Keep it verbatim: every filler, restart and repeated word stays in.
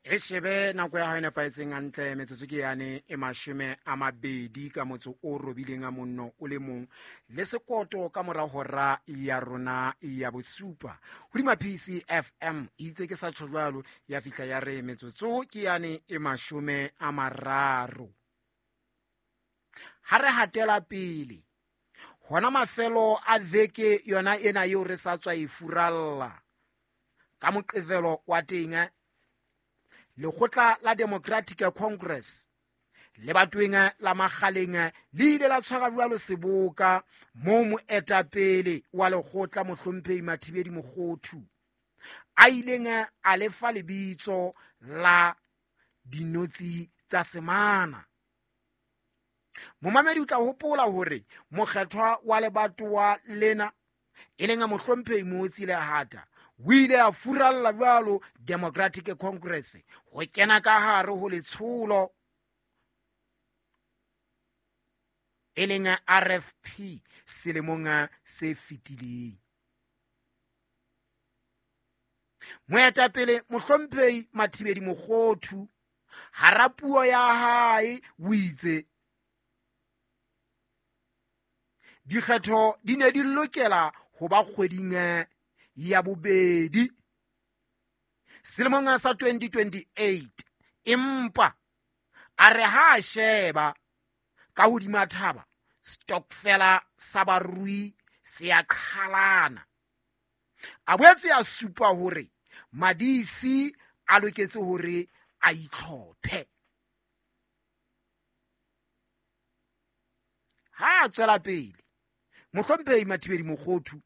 E shebe nako ya hao e nepahetseng hantle, metsotso ke yane e mashome a mabedi ka motso o robileng a monno o le mong le sekoto ka mora hora ya rona ya bosupa hodima P C F M. Itse ke sa tjho jwalo, ya fihla ya re metsotso ke yane e mashome a mararo. Ha re hatela pele hona mafelo a veke yona ena eo re sa tswa e furalla ka Moqebelo wa teng, lekgotla la Democratic Congress le batweng la Makgaleng le ile la tshwara jwalo seboka moo moetapele wa lekgotla mohlomphehi Mathibedi Mokhothu a ileng a lefa lebitso la dinotsi tsa semana. Momamedi o tla hopola hore mokgethwa wa lebatowa lena e leng mohlomphehi Mootsi Lehata o ile a furalla jwalo Democratic Congress ho kena ka hare ho letsholo e leng R F P selemong se fetileng. Moetapele mohlomphehi Mathibedi Mokhothu hara puo ya hae o itse dikgetho di ne di lokela ho ba kgweding ya bobedi selemong sa twenty twenty-eight, empa a re ha a sheba ka hodima thaba stokfela sa barui se a qhalana. A boetse a supa hore madisi a loketse hore a itlhophe. Ha a tswela pele mohlomphehi Mathibedi Mokhothu